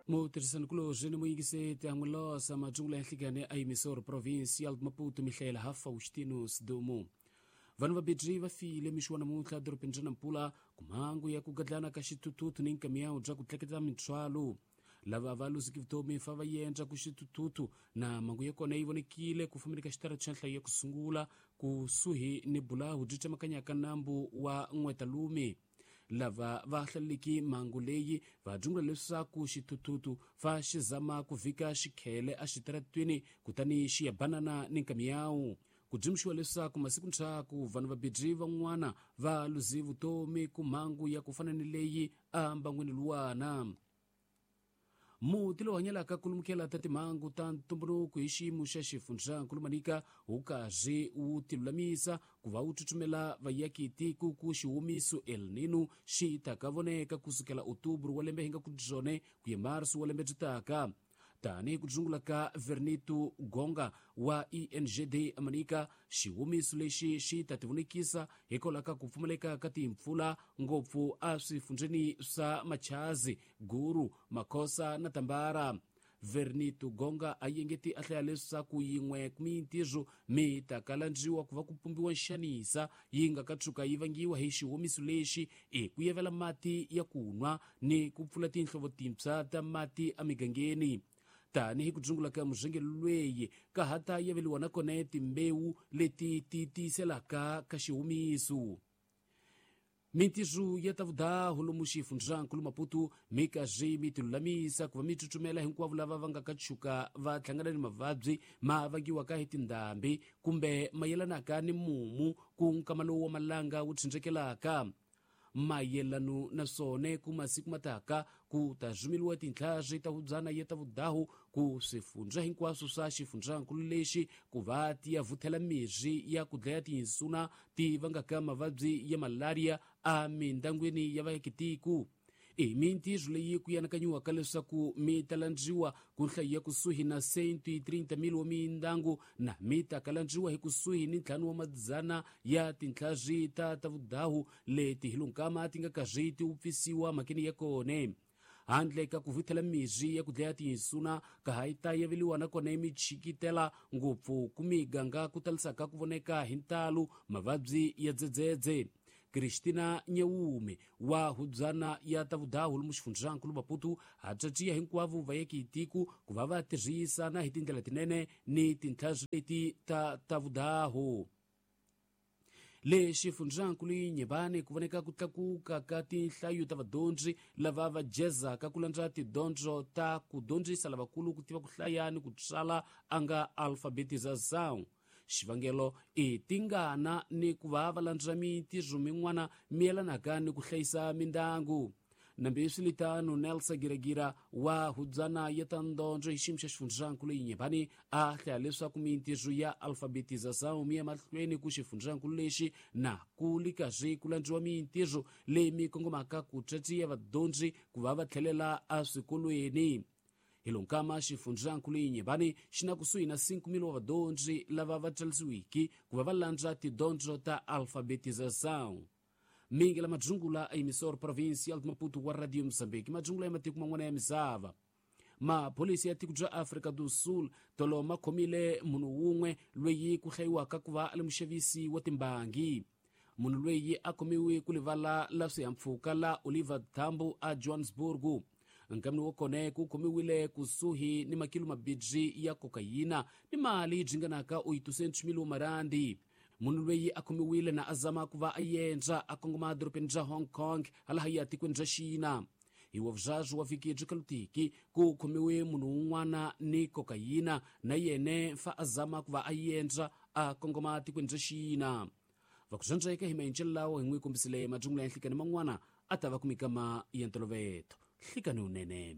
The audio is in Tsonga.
Mutirhisanikulorhi ni muyingiseti an'wilosa matsungula ya nhlikani a Emissor Provincial Maputo mihlayela ha Faustino Sidumo. Vanhu vabedri va file mixo wa namuntlha edorobeni ra Nampula ku mhangu ya ku gadlana ka xithuthuthu ni nkamiyawu bya ku tleketla mintswalo. Lava va luziki vutomi fa va yendla ku xithuthuthu na mhangu ya kona yi vonekile ku fambeni ka xitarata xa nhlayo ya ku sungula kusuhi ni bulahu byi tsemakanyaka nambu wa N'wetalume. Lava va hlaleleki mhangu leyi va dzungula leswaku xithuthuthu fa xi zama ku vhika xikhele exitaratweni kutani xi ya banana ni nkamiyawu. Ku dzumxiwa leswaku masiku ndzhaku vanhu vabedri van'wana va luze vutomi ku mhangu ya ku fana ni leyi embangwini luwana. Muti lowu hanyelaka ku lumukela ta timhangu ta ntumbuluko hi xiyimo xa xifundzankulu Manika wu karhi wu tilulamisa ku va wu tsutsumela vayakitiko ku xihumiso El Nino xi taka voneka kusukela Otubro wa lembe hi nga ku byone ku ya Marso wa lembe byi taka. Tanihi ku dzungula ka Vernito Gonga wa ENGD Amanika, xihumiso lexi xi ta tivonekisa hikwalaho ka ku pfumaleka ka timpfula ngopfu eswifundzeni swa Machazi, Guru, Makhosa na Tambara. Vernito Gonga a yengeti a hlaya leswaku yin'we mintirho mi ta kalandziwa ku va ku pumbiwa nxanisa yi nga ka tshuka yi vangiwa hi xihumiso lexi i ku yevela mati ya ku nwa ni ku pfula tinhlovo tintshwa ta mati emigangeni. Tanihi ku dzungula ka muzengelo lweyi ka ha ta yeveliwa na kona timbewu leti ti tiyiselaka ka xihumiso. Mintirho ya ta vudahu lomu xifundzankulu Maputo mi karhi mi tilulamisa ku va mi tsutsumela hinkwavo lava va nga ka tshuka va hlangana ni mavabyi ma vangiwaka hi tindhambi kumbe mayelanaka ni mumu ku nkama lowu wa malanga wu tshindzhekelaka. Mayelano na swona ku masiku mataka ku ta rhumeriwa tintlhari ta hubyana ya ta vudahu ku swifundza hinkwaswo swa xifundzankulu lexi ku va ti ya vuthela mirhi ya ku dlaya tinsuna ti vangaka mavabyi ya malaria emindangwini ya vaakitiko. I mintirho leyi ku yanakanyiwaka leswaku mi ta landziwa ku nhlayo ya kusuhi na 130,000 wa mindangu na mi ta kalandziwa hi kusuhi ni 5 wa madzana ya tintlhari ta ta vudahu leti hi lonkama ti nga karhi ti wupfisiwa mhakeni ya kona. Handle ka ku vuthela mirhi ya ku dlaya tinsuna ka ha yi ta yeveliwa na kona michikitela ngopfu ku miganga ku talisaka ku voneka hi ntalo mavabyi ya dzedzedze. Christina Nyeume wa hubyana ya ta vudahu lomu xifundzankulu Maputo ha tswatsiya hinkwavo vayakitiko ku va va tirhisana hi tindlela tinene ni tintlhari leti ta ta vudahu. Le xifundzankulu Nyebane ku voneka ku tlakuka ka tinhlayo ta vadyondzi lava va jezaka ku landza tidyondzo ta ku dyondzisa lavakulu ku tiva ku hlaya ni ku tsala a nga alfabetization. Xivangelo i tingana ni ku va va landza mintirho min'wana mi yelanaka ni ku hlayisa mindyangu. Nambi swiritano Nelson Giregira wa hubyana ya ta ndondzo hi xiyimo xa xifundzankulu Nyebane a hlaya leswaku mintirho ya alfabetization mi ya mahlweni ku xifundzankulu lexi na ku li karhi ku landziwa mintirho leyi mi kongomaka ku tswatsiya vadyondzi ku va va tlhelela eswikolweni. Hi lonkama xifundzankulu Nyebane xi na kusuhi na 5,000 wa vadyondzi lava va tsarisiwiki ku va va landza tidyondzo ta alfabetization. Mingi la madzungula a Emissor Provincial de Maputo wa Radio Mozambique, madzungula ya matiko man'wana ya misava. Mapholisi ya tiko bya Afrika do Sul tolo ma khomile munhu wun'we loyi ku hlayiwaka ku va a li muxavisi wa timbangi. Munhu loyi a khomiwe ku livala la swihahampfhuka la Oliver Tambo a Johannesburg. Nkamini wa kona ku khomiwile kusuhi ni makilo mabirhi ya kokayina ni mali yi dzinganaka 800,000 wa marandi. Munhu loyi a khomiwile na a zama ku va a yendza a kongoma edorobeni ra Hong Kong halaha ya tikweni ra Xina. Hi wa vuzazwi wa vhiki byi kalutiki ku khomiwe munhu un'wana ni kokayina na yene fa a zama ku va a yendza a kongoma tikweni ra Xina. Va ku zwandzeka hi maendlelo lawa hi n'wi kombisile madzungula ya nhlikani man'wana a ta va ku mikama ya ntoloveto. Nhlikani wunene.